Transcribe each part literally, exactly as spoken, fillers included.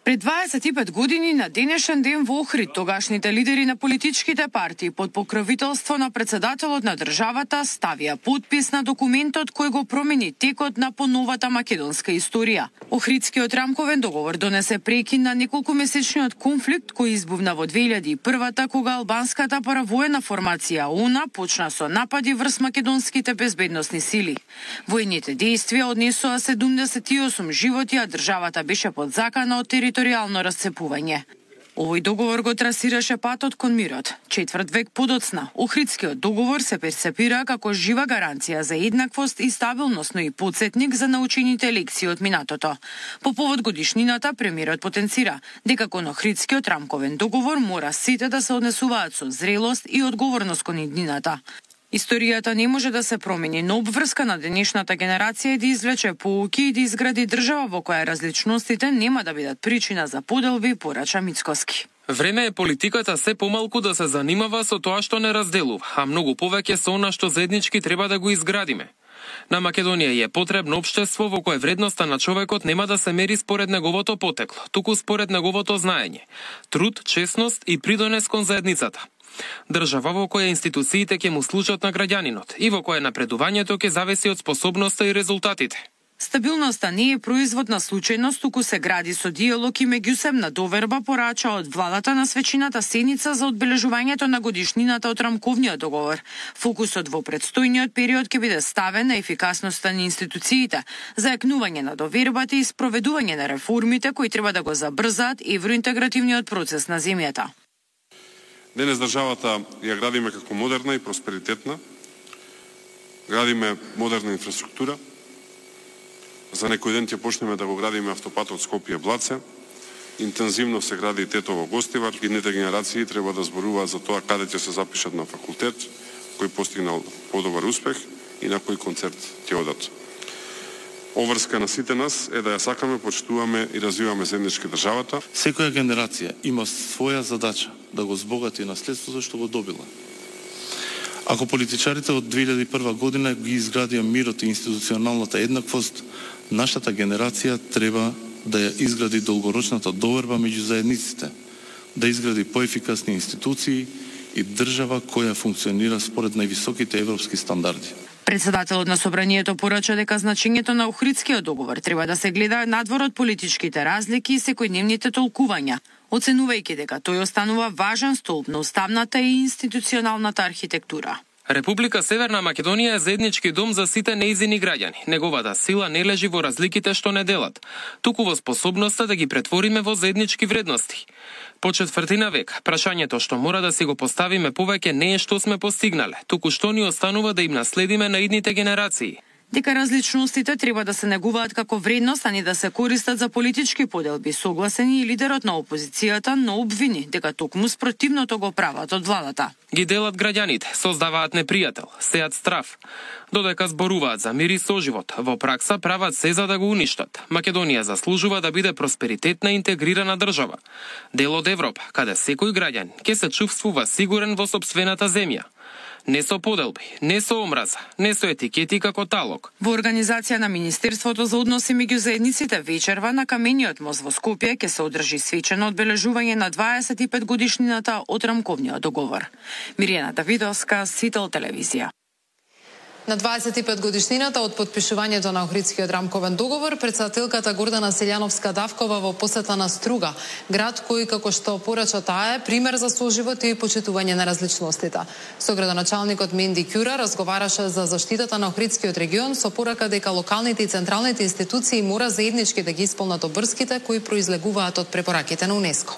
Пред дваесет и пет години на денешен ден во Охрид тогашните лидери на политичките партии под покровителство на председателот на државата ставија подпис на документот кој го промени текот на поновата македонска историја. Охридскиот рамковен договор донесе прекин на неколкумесечниот конфликт кој избувна во две илјади и првата кога албанската паравоена формација ОУН почна со напади врз македонските безбедносни сили. Војните дејствија однесоа седумдесет и осум животи, а државата беше под закана од територијално расцепување. Овој договор го трасираше патот кон мирот. Четврт век подоцна, Охридскиот договор се перцепира како жива гаранција за еднаквост и стабилност, но и потсетник за научените лекции од минатото. По повод годишнината, премиерот потенцира дека кон Охридскиот рамковен договор мора сите да се однесуваат со зрелост и одговорност кон иднината. Историјата не може да се промени, но обврска на денешната генерација е да извлече поуки и да изгради држава во која различностите нема да бидат причина за поделби, порача Мицкоски. Време е политиката се помалку да се занимава со тоа што не разделува, а многу повеќе со она што заеднички треба да го изградиме. На Македонија е потребно општество во кое вредноста на човекот нема да се мери според неговото потекло, туку според неговото знаење, труд, честност и придонес кон заедницата. Држава во која институциите ќе му служат на граѓанинот и во која напредувањето ќе зависи од способноста и резултатите. Стабилноста не е производ на случајност, туку се гради со диалог и меѓусебна доверба, порача од владата на свечината седница за одбележувањето на годишнината од рамковниот договор. Фокусот во предстојниот период ќе биде ставен на ефикасноста на институциите, зајакнување на довербата и спроведување на реформите кои треба да го забрзаат евроинтегративниот процес на земјата. Денес државата ја градиме како модерна и просперитетна. Градиме модерна инфраструктура. За некој ден ќе почнеме да го градиме автопатот Скопје-Блаце. Интензивно се гради Тетово-Гостивар. Идните генерации треба да зборуваат за тоа каде ќе се запишат на факултет, кој постигнал подобар успех и на кој концерт ќе одат. Обврска на сите нас е да ја сакаме, почитуваме и развиваме заеднички државата. Секоја генерација има своја задача да го збогати наследството што го добила. Ако политичарите од две илјади и прва година ги изградија мирот и институционалната еднаквост, нашата генерација треба да ја изгради долгорочната доверба меѓу заедниците, да изгради поефикасни институции и држава која функционира според највисоките европски стандарди. Председателот на собранието порача дека значењето на Охридскиот договор треба да се гледа надвор од политичките разлики и секојдневните толкувања, оценувајќи дека тој останува важен столб на уставната и институционалната архитектура. Република Северна Македонија е заеднички дом за сите нејзини граѓани. Неговата сила не лежи во разликите што не делат, туку во способноста да ги претвориме во заеднички вредности. По четвртина век, прашањето што мора да си го поставиме повеќе не е што сме постигнале, туку што ни останува да им наследиме на идните генерации. Дека различностите треба да се негуваат како вредност, а не да се користат за политички поделби, согласен и лидерот на опозицијата, но обвини дека токму спротивното го прават од владата. Ги делат граѓаните, создаваат непријател, сеат страв. Додека зборуваат за мир и соживот, во пракса прават се за да го уништат. Македонија заслужува да биде просперитетна и интегрирана држава. Дел од Европа, каде секој граѓан ќе се чувствува сигурен во сопствената земја. Не со поделби, не со омраза, не со етикети како талог. Во организација на Министерството за односи меѓу заедниците вечерва на Камениот мост во Скопје ќе се одржи свечено одбележување на дваесет и пет годишнината од рамковниот договор. Мирјана Давидовска, Сител телевизија. На дваесет и пет годишнината од подпишувањето на Охридскиот рамковен договор, председателката Гордана Селјановска-Давкова во посета на Струга, град кој, како што порача таа, е пример за соживот и почитување на различностите. Со градоначалникот Менди Кјура разговараше за заштитата на Охридскиот регион со порака дека локалните и централните институции мора заеднички да ги исполнат обврските кои произлегуваат од препораките на УНЕСКО.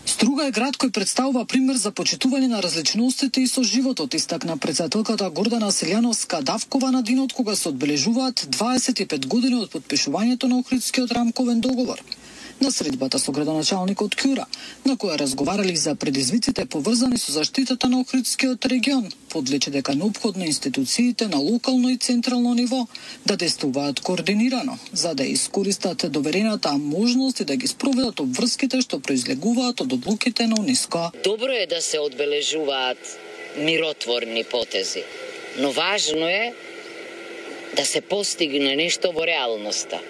Струга е град кој представува пример за почитување на различностите и со животот, истакна председателката Гордана Селјановска-Давкова на денот кога се одбележуваат дваесет и пет години од подпишувањето на Охридскиот рамковен договор. На средбата со градоначалникот Кјура, на која разговарали за предизвиците поврзани со заштитата на Охридскиот регион, подлече дека неопходно институциите на локално и централно ниво да действуваат координирано, за да искористат доверената можност и да ги спроведат обврските што произлегуваат од одлуките на УНЕСКО. Добро е да се одбележуваат миротворни потези, но важно е да се постигне нешто во реалноста.